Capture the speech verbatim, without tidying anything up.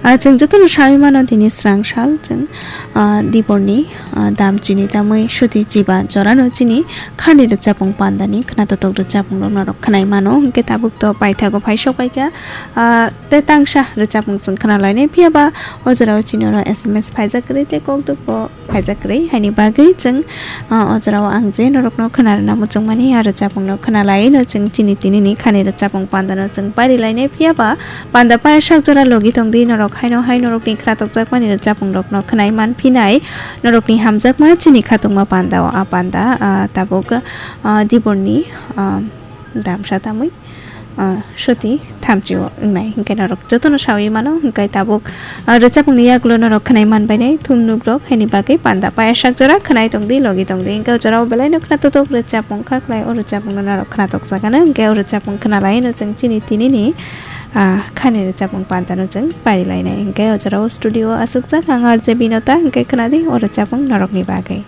Ah, chwng jotono sawi mano tini srang sal chwng, ah, diborni, ah, dam chini tamwi suti chiba jorano chini khani rwchapung pandani khwnatok rwchapung rok norok khwnai mano, hwnkhe tabuk to paithago phaisok paikha, ah, tei tangsa rwchapung chwng khwnalainai, phiyaba o jorao chini oro S M S phaijak kwrwi tei kokduk bo phaijak kwrwi, haini bagwi chwng, ah, o jorao ang je norokno khwnarwna muchungmani, ah, rwchapungno khwnalaino chwng chini tinini khani rwchapung pandano chwng parilainai, phiyaba panda paya sak jora logi tongdi norok, haino hai norokni khwnatok jakmani rwchapungrokno khwnai manphinai norokni hamjakma chini khatungma pandao. A panda, ah, tabuk, ah, diborni, ah, damsa tamwi, ah, soti thamchio wngnai, hwnkhe norok jotono sawi mano, hwnkhe tabuk, ah, rwchapungni yagulo norok khwnai manbainai thumnuk rok, haini bagwi panda paya sak jora khwnai tongdi, logi tongdi, hwnkhe o jorao belaino khwnatok rwchapung kha khlai, o rwchapungno norok khwnatok jakano, hwnkhe o rwchapung khwnalaino chwng chini tinini, ah, khani rwchapung pandano chwng parilainai, hwnkhe o jorao studio asukjak ang R J Binota, hwnkhe khwnadi o rwchapung norokni bagwi.